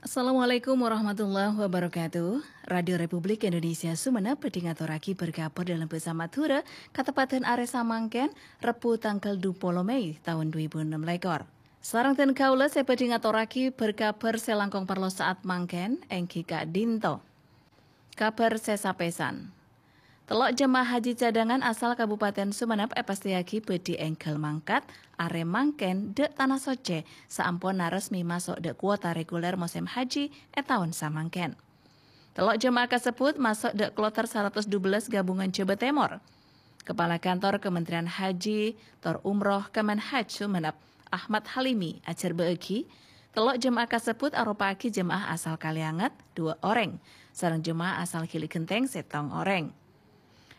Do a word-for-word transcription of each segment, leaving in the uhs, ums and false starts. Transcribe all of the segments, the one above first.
Assalamualaikum warahmatullahi wabarakatuh. Radio Republik Indonesia Sumenep bhâdhi ngatorraghi bâr-kabhâr dâlem bhâsa Madhurâ, kateppadhân arè samangkèn, Rebbhu tangghâl dupolo Mei taon dhu èbu ennem lèkor. Sareng dân kaulâ sè bhâdhi ngatorraghi bâr-kabhâr sè langkong parlo sa'at mangkèn, èngghi ka'dinto. Kabhâr sè sapèsan. Tello' jemaah haji cadangan asal Kabupaten Sumenep èpastèyaghi bhâdhi èngghâl mangkat arè mangkèn dâ' Tana Soccè saamponna resmi maso' dâ' kuota reguler mosèm haji è taon samangkèn. Tello' jemaah kasebbhut maso' dâ' kloter saratos dubellâs Gabungan Jhâbâ Tèmor. Kepala Kantor Kementerian Haji tor Umroh Kemenhaj Sumenep, Ahmad Halimi, ajhârbâ'âghi, tello' jemaah kasebbhut aropa'aghi jemaah asal Kalianget, dua orèng, sareng jemaah asal Gili Genteng, sèttong orèng.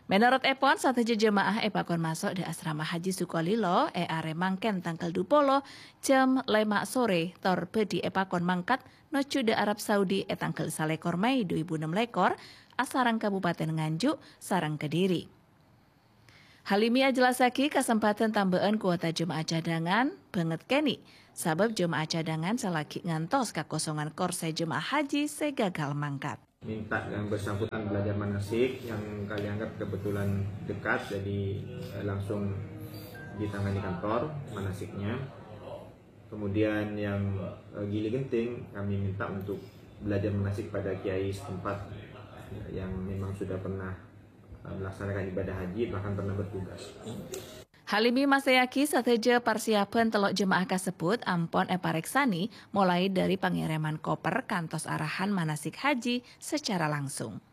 Mènorot èpon, sadhâjâ jemaah èpakon maso' dâ' asrama Haji Sukolilo è arè mangkèn tangghâl dupolo jam lèma' sorè, tor bhâdhi èpakon mangkat nojjhu dâ' Arab Saudi è tangghâl salèkor Mei dhu èbu ennem lèkor, asareng Kabupaten Nganjuk sareng Kediri. Halimi ajellassaghi kasempadhân tambâ'ân kuota jemaah cadangan bângèt kènè', sabâb jemaah cadangan sè laghi ngantos kakosongan korsè jemaah haji sè gagal mangkat. Minta yang bersangkutan belajar manasik, yang Kalianget kebetulan dekat, jadi, eh, langsung ditangani kantor manasiknya. Kemudian yang, eh, Gili Genting, kami minta untuk belajar manasik pada kiai setempat yang memang sudah pernah, eh, melaksanakan ibadah haji, bahkan pernah bertugas. Halimi mastèyaghi sadhâjâ parsiyapan tello' jemaah kasebbhut ampon èparèksanè, molaè dâri pangèrèman koper kantos arahan manasik haji sacara langsung.